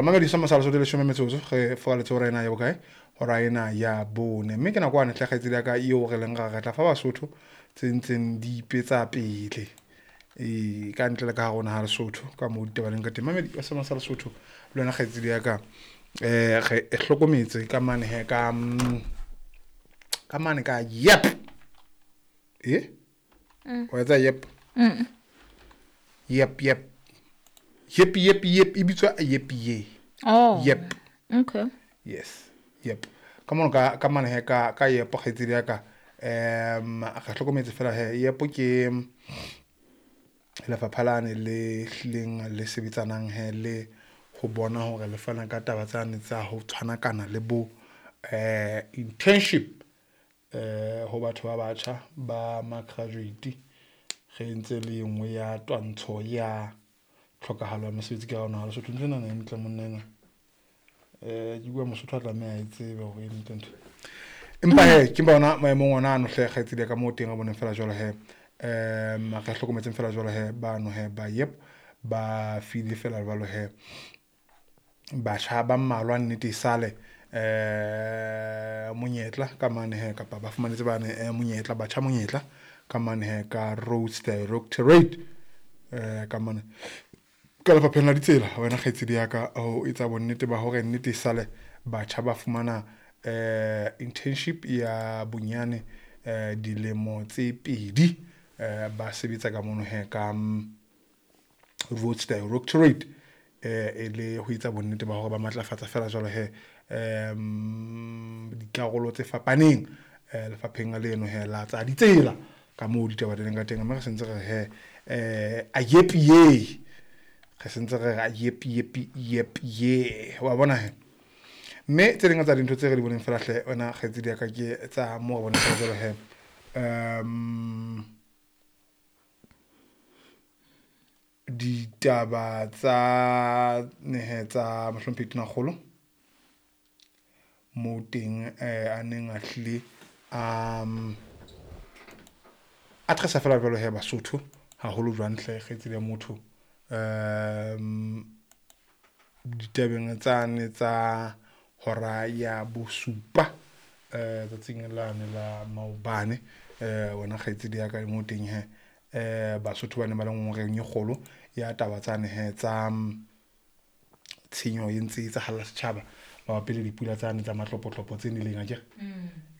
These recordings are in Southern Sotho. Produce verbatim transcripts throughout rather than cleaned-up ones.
Mamedi sa masala Sotho leshome metsotso re furaletse hora ena ya bokae, hora ena ya bone, mme ke nako ane hle kgaitsedi ya ka eo re leng ra re tla fa Basotho tse ntseng di ipetsa pele e ka ntle le ka hare ho naha Lesotho ka moo ditaba leng ka teng. Mamedi wa sa Lesotho le wena kgaitsedi ya ka, um re hlokometse ka mane he ka ka mane ka yep e wa etsa yep yep yep yep yep yep e bitswa yep ye. Oh. Yep. Okay. Yes. Yep. Ka mono ka ka mane he ka ka yepo kgaitsedi ya ka, um re hlokometse fela he yepo ke lefapha lane le hlileng le sebetsanang he le ho bona hore le fana ka taba tsane tsa ho tshwanakana le bo eh internship eh ho batho ba batjha ba ma graduate. Re ntse le engwe ya twantsho ya tlhokahalo ya mosebetsi ka hona Lesotho. Ntho ena e ntle monna ena, eh ke bua Mosotho a tlameha e tsebe hore e ntle ntho. Empa he ke bona maemong ona ano hle kgaitsedi ka moo teng re boneng fela jwalo he, um re hlokometseng fela jwalo he bano he ba yep ba file fela jwalo he batjha ba mmalwa nnete e sale eh monyetla ka mane he, kapa ba fumanetse bane monyetla batjha monyetla ka mane he ka Roads Directorate eh ka mane ka lefapheng la ditsela. Wena kgaitsedi ya ka ho etsa bonnete ba hore nnete e sale batjha ba fumana eh internship ya bonyane eh dilemo tse pedi eh ba sebetsa ka mono he ka Roads Directorate eh e le ho etsa bonnete ba hore ba matlafatsa fela jwalo he um dikarolo tse fapaneng eh lefapheng leno he la tsa ditsela ka moo ditaba di leng ka teng. Mme re sentse re he eh a yep ye re sentse re a yep yep yep ye wa bona he. Mme tse ding tsa dintho tse re di boneng fela hle wena kgaitsedi ya ka ke tsa moo re boneng fela jwalo he um ditaba tsa nehe tsa mohlomphehi Tonakgolo moo teng eh a neng a hlile um addressa fela jwalo he Basotho haholo jwang hle kgaitsedi ya motho um ditabeng tsane tsa hora ya bosupa eh tsatsing lane la maobane eh wena kgaitsedi ya ka moo teng he eh Basotho ba ne ba le ngongoreng e kgolo ya taba tsane he tsa tshenyo e ntse e etsahala setjhaba mabapi le dipula tsane tsa matlopotlopo tse neleng akere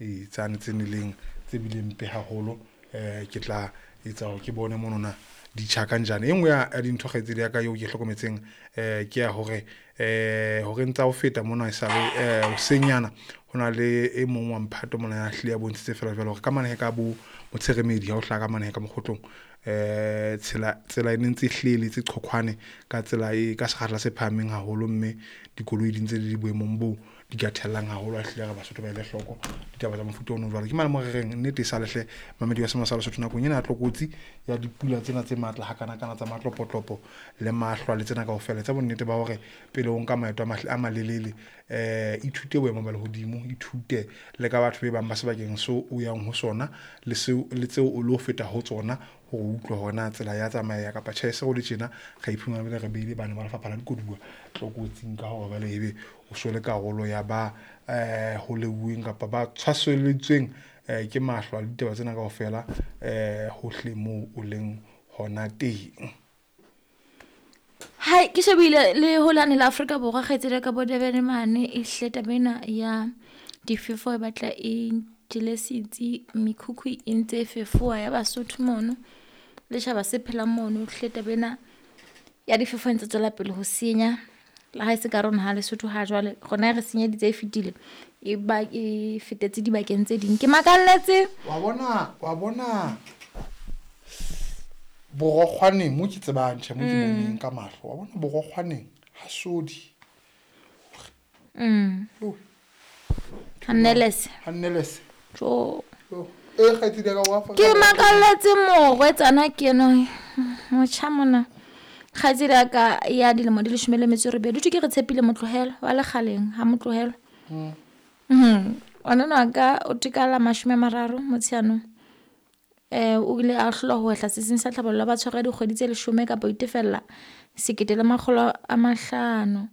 ee tsane tse neleng tse bileng mpe haholo. Eh ke tla etsa hore ke bone monona ditjha kanjane. E nngwe ya dintho kgaitsedi ya ka eo ke hlokometseng eh ke ya hore eh hore ntsa ho feta mona e sale eh hoseng yana ho na le e mong wa mphato mona ya hlile ya bontshitse fela jwalo hore ka mane he ka bo Motsheremedi ha o hlaha ka mane he ka mokgotlong eh tsela tsela e ne ntse e hleletse qhoqhwane ka tsela e ka sekgahla se phahameng haholo, mme dikoloi di ntse di le boemong bo di ka thellang haholo. A hlile re Basotho ba ele hloko ditaba tsa mofuta ono jwalo. Ke mane mo re reng nnete e sale hle mamedi wa sema sa Lesotho nakong ena ya tlokotsi ya dipula tsena tse matla hakanakana tsa matlopotlopo le mahlwa le tsena kaofela, tsa bonnete ba hore pele o nka maeto a malelele eh ithute boemo ba lehodimo, ithute le ka batho be bang ba sebakeng seo o yang ho sona le seo le tseo o lo feta ho tsona hore o utlwe hore na tsela ya tsamaya kapa tjhe. Se ho le tjena re iphumana re beile bana ba lefapha la dikoduwa tlokotsing ka hore jwale ebe o so le karolo ya ba eh ho leuweng kapa ba tshwaseleditsweng eh ke mahlwa le ditaba tsena kaofela eh hohle moo o leng hona teng. Hai ke shebile le holane la Afrika Borwa kgaitsedi ka bo Durban mane e hle taba ena ya difefo e batla e jele setsi, mekhukhu e ntse e fefowa ya Basotho mono le tjhaba se phelang mono. Hle taba ena ya difefo e ntse tswela pele ho senya le ha e se ka rona ha Lesotho ha jwale rona re senyeditse e fetile e ba e fetetse dibakeng tse ding. Ke makalletse wa bona wa bona borokgwaneng mo ke tsebang tjhe mo ke boneng ka mahlo wa bona borokgwaneng ha sodi mm Hanelese Hanelese jo e kgaitsedi ka wa fa ke makalletse morwetsana ke eno motjha mona kgaitsedi ya ka ya dilemo di leshome le metso e robedi ke re tshepile Motlohelo wa lekgaleng ha Motlohelo mm mhm ona ka o tikala mashome a mararo Motsheanong eh o ile a hlolwa ho hla setsing sa tlhabollo ba tshwara dikgwedi tse leshome kapa ho itefella sekete le makgolo a mahlano.